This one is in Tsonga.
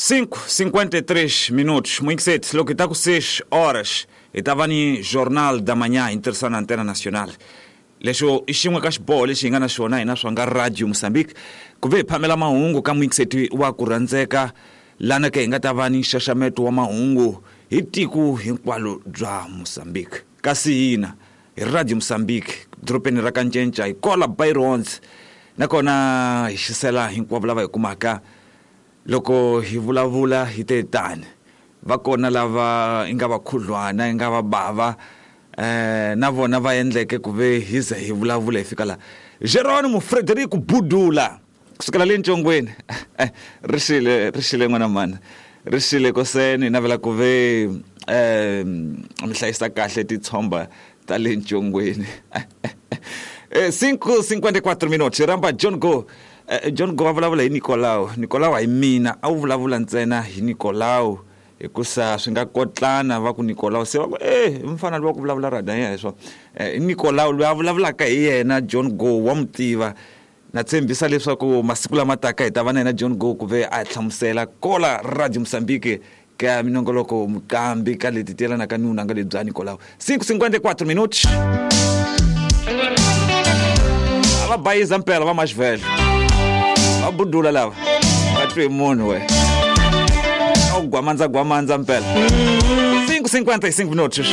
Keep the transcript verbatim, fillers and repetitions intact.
cinco cinquenta e três minutos, muito cedo, logo está com seis horas, e estava no Jornal da Manhã, interessante na Antena Nacional. Lexo i xin'we ka xiboho lexi hi nga na xona hina swa nga Radio Mozambique ku ve hi phamela mahungu ka muingiseti wa ku rhandzeka lana ke hi nga ta va ni nxaxameto wa mahungu hi tiko hinkwalo bya Mozambique. Kasi hina hi Radio Mozambique dorobeni ra Kancenca hi kola Byrons nakona hi xisela hinkwavo lava hi kumaka loko hi vulavula hi te tani va kona lava i nga va khudlwana i nga va bava eh na vona va endleke ku ve hi ze hi vulavula hi fika la Geronimo Frederico Budula kusukela le Ntshongweni ri xile ri xile n'wana mani ri xile koseni navela ku ve eh mi hlayisa kahle titshomba ta le Ntshongweni. Eh cinco cinquenta e quatro minutos ramba John Go. eh, John Go va vulavula hi Nicolau. Nicolau hi mina a wu vulavula ntsena hi Nicolau hikusa swi nga kotlana va ku Nicolau se va ku eh mfana loyi wa ku vulavula rada yena swo eh Nicolau loyi a vulavulaka hi yena John Go wa mutiva na tshembisa leswaku masiku lama taka hi ta va na yena John Go ku ve a hlamusela kola Radio Mozambique ka minongoloko muqambi ka leti tiyelanaka ni vunanga lebyi bya Nicolau. Cinco cinquenta e quatro minutos a va bayiza mpela va maxivhele va budula lava va twi munhu we gwamandza gwamandza mpela. Cinco cinquenta e cinco minutos.